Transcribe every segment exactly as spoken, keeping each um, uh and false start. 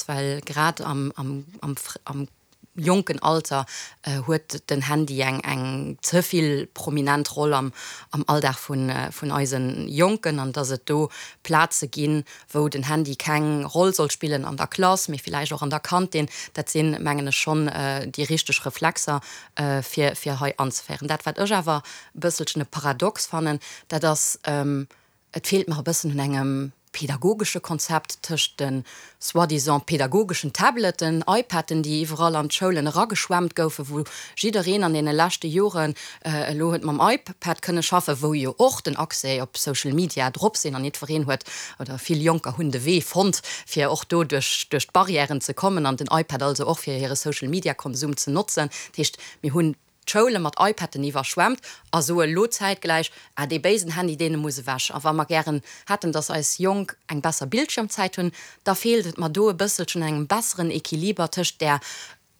well grad am, am, am, am jonken Alter huet den Handy eng eng ze vill prominent Roll am am Alldag vun vun eise Jonken an dass et do Plaze ginn, wou den Handy keng Roll soll spillen an der Klass, mee villäicht och an der Kantin, dat sinn, mengen ech, schonn déi richteg Reflexer fir fir hei anzeféieren. Dat wat ech awer e bësselchen e Paradox fannen, dat ass, et feelt mer e bëssen un engem pedagogesche Konzept tëscht de soi-disant pedagogeschen Tableten, iPaden, déi iwwerall an d'Schoulen erageschwemmt goufen, wou jiddereen an deene leschte Joren elo huet mam iPad kënne schaffen, wou jo och den Accès op Social Media drop sinn an jiddwereen huet, oder vill Jonker hunn de Wee fonnt, fir och do duerch duerch d'Barrièren ze kommen an den iPad also och fir hire Social Media Konsum ze notzen. Dat heescht, mir hunn d'Schoule mat iPaden iwwerschwemmt a soe lo zäitgläich, Ah, dee béisen Handy, dee muss ewech. A wa mer gären hätten, dass eis Jonk eng besser Bildschirmzäit hunn, da feelt et mer do e bësselchen un engem besseren Equiliber tëscht där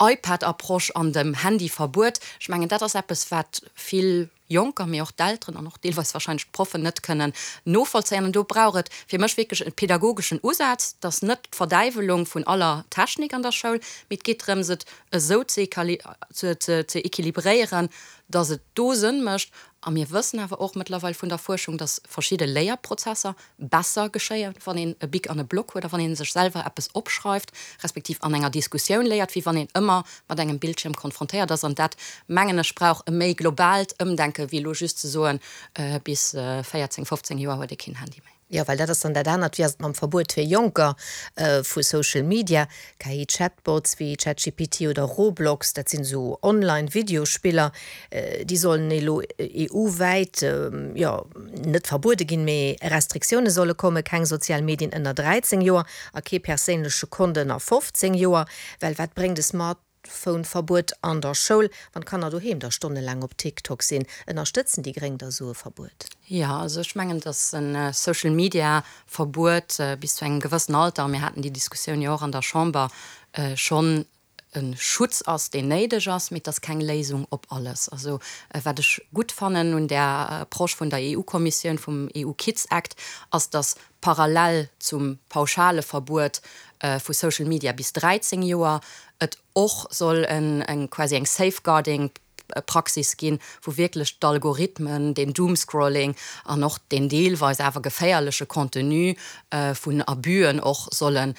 iPad-Approche an dem Handyverbuet. Ech mengen, dat ass eppes, wat vill Jonker, mee och d'Elteren an och deelweis wahrscheinlech d'Proffen net kënnen novollzéien. An do brauch et fir mech wierklech e pedagogeschen Usaz. Et ass net d'Verdäiwelung vun aller Technik an der Schoul, mee et geet drëms, et esou ze ze equilibréieren, dass et do Sënn mécht. A mir wëssen awer och mëttlerweil vun der Fuerschung, dass verschidde Léierprozesser besser geschéien, wann een e Bic an e Block huet a wann ee sech selwer eppes opschreift, respektiv an enger Diskussioun léiert, wéi wann een ëmmer mat engem Bildschierm konfrontéiert ass. An dat, mengen ech, brauch e méi globaalt Ëmdenke wéi elo just ze soen, bis véierzéng, fofzéng Joer huet ee keen Handy méi. Jo, well dat ass dann dat anert, wéi ass et mam Verbuet fir Jonker vu Social Media? K I-Chatbots wéi ChatGPT oder Roblox, dat sinn esou Online-Videospiller, déi sollen elo E U-wäit, jo, net verbuede ginn, mee Restriktioune solle kommen, keng sozial Medien ënner dräizéng Joer a kee perséinleche Kont ënner fofzéng Joer. Well wat bréngt e Smartphone-Verbuet an der Schoul, wann d'Kanner doheem da stonnelaang op TikTok sinn? Ënnerstëtzen déi Gréng da sou e Verbuet? Jo, also ech mengen, datt e Social Media Verbuet bis zu engem gewëssen Alter, a mir haten déi Diskussioun jo och an der Chamber, schonn e Schutz ass, deen néideg ass, mee et ass keng Léisung op alles. Also wat ech gutt fannen un där Approche vun der E U-Kommissioun, vum E U Kids Act, ass, datt parallel zum pauschale Verbuet vu Social Media bis dräizéng Joer et och soll eng quasi eng Safeguarding Praxis ginn, wou wierklech d'Algorithmen, den Doomscrolling an och deen deelweis awer geféierleche Contenu vun Abüen och sollen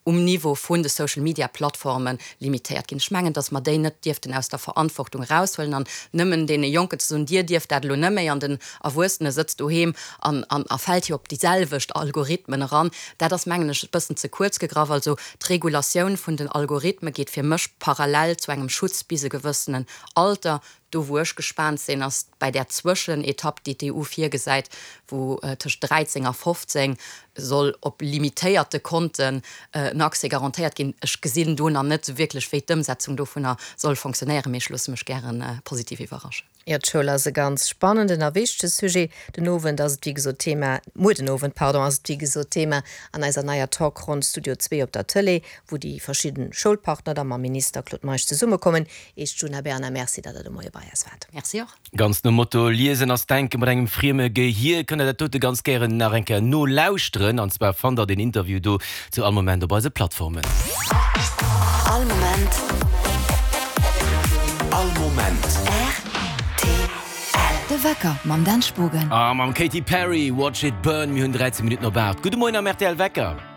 um Niveau vun de Social Media Plattforme limitéiert ginn. Ech mengen, datt mer déi net dierften aus der Verantwortung eraushuelen an nëmmen deene Jonken ze soen, Dir dierft dat elo net méi an den Erwuessene sëtzt doheem an a fält jo op déi selwecht Algorithmen eran, dat ass, mengen ech, e bëssen ze kuerz gegraff. Also d'Regulatioun vun den Algorithme geet fir mech parallel zu engem Schutz bis e gewëssenen Alter. Do wou ech gespaant sinn, ass bei där Zwëschenetapp, déi d'E U virgesäit, wou tëscht dräizéng a fofzéng soll op limitéierte Konten en Accès garantéiert ginn. Ech gesinn do nach net esou wierklech, wéi d'Ëmsetzung dovunner soll fonctionnéieren, mee ech loosse mech gäre positiv iwwerraschen. Jo, d'Schoul ass e ganz spannenden a wichtege Sujet. Den Owend ass et wéi gesot Thema, muer den Owend, pardon, ass et wéi gesot Thema an eiser neier Talkronn Studio zwee op der Tëlee, wou déi verschidden Schoulpartner da mam Minister Claude Meisch zesummekommen. Iech Djuna Bernard, Merci, datt Der de Moie bei eis waart. Merci och. Ganz nom Motto Liesen ass Denken mat engem frieme Gehier kënnt der dat dote ganz gären nach eng Kéier nolauschteren. An zwar fannt der den Interview do zu all Moment op eise Plattformen. All Moment. All Moment. R T L. De Wecker mam Dan Spogen. A mam Katy Perry, Watch It Burn. Mir hunn dräizéng Minutten op aacht. Gudde Moien am R T L Wecker.